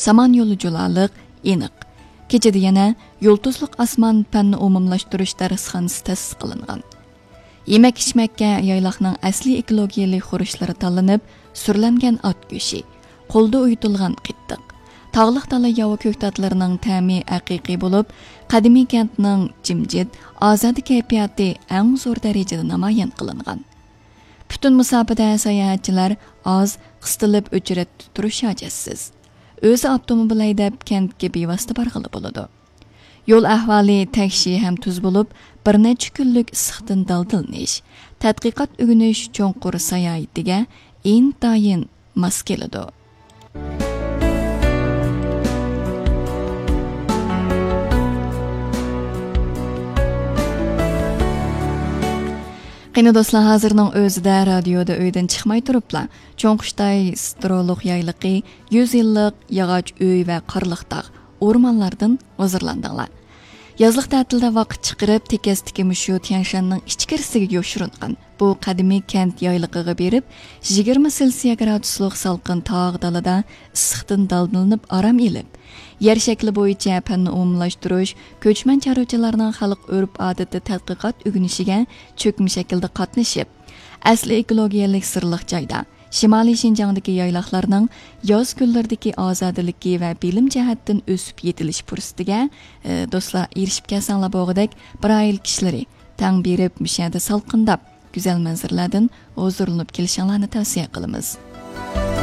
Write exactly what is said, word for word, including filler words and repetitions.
سامان يولى جۇلالىق، ئېنىق. كېچىدە يەنە يۇلتۇزلۇق ئاسمان پەننى ئومۇملاشتۇرۇش دەرسخانىسى تەسىس قىلىنغان. يېمەك-ئىچمەككە يايلاقنىڭ ئەسلىي ئېكولوگىيەلىك خۇرۇچلىرى تاللىنىپ، سۈرلەنگەن ئات گۆشى، قولدا ئۇيۇتۇلغان قېتىق، تاغلىق دالا ياۋا كۆكتاتلىرىنىڭ تەمى ھەقىقىي بولۇپ، قەدىمىي كەنتنىڭ جىمجىت، ئازادە كەيپىياتى ئەڭ زور دەرىجىدە نامايان قىلىنغان. پۈتۈن مۇساپىدە ساياھەتچىلەر ئاز، قىستىلىپ ئۆچرەتتە تۇرۇش ھاجەتسىز. ئۆزى ئاپتوموبىل ھەيدەپ كەنتكە بىۋاسىتە بارغىلى بولىدۇ. يول ئەھۋالى تەكشى ھەم تۈز بولۇپ، بىر نەچچە كۈنلۈك ئىسسىقتىن دالدىلىنىش، تەتقىقات ئۆگىنىش، چوڭقۇر ساياھىتىگە ئىنتايىن ماس كېلىدۇ. قېنى دوستلار، ھازىرنىڭ ئۆزىدە رادىيودا ئۆيدىن چىقماي تۇرۇپلا، چوڭقۇشتاي سترولۇق يايلىقى يۈز يىللىق ياغاچ ئۆي ۋە قارلىق تاغ، ئورمانلاردىن ھۇزۇرلاندىڭلار. يازلىق تەتىلدە ۋاقىت چىقىرىپ، تېكەستىكى مۇشۇ تيەنشاننىڭ ئىچكىرىسىگە يوشۇرۇنغان بۇ قەدىمىي كەنت يايلىقىغا بېرىپ، يىگىرمە سېلسىيە گرادۇسلۇق سالقىن تاغ دالىدا ئىسسىقتىن دالدىلىنىپ ئارام ئېلىپ، يەر شەكلى بويىچە پەننى ئومۇملاشتۇرۇش، كۆچمەن چارۋىچىلارنىڭ خەلق ئۆرپ-ئادىتى تەتقىقات ئۆگىنىشىگە چۆكمە شەكىلدە قاتنىشىپ، ئەسلى ئېكولوگىيەلىك سىرلىق جايدا، شىمالىي شىنجاڭدىكى يايلاقلارنىڭ ياز كۈنلىرىدىكى ئازادىلىكى ۋە بىلىم جەھەتتىن ئۆسۈپ يېتىلىش پۇرسىتىگە، ئە، دوستلار، ئېرىشىپ كەلسەڭلار بولغۇدەك، بىر ئائىلە كىشىلىرى تەڭ بېرىپ، مۇشۇ يەردە سالقىنداپ، گۈزەل مەنزىرىلەردىن ھۇزۇرلىنىپ كېلىشىڭلارنى تەۋسىيە قىلىمىز.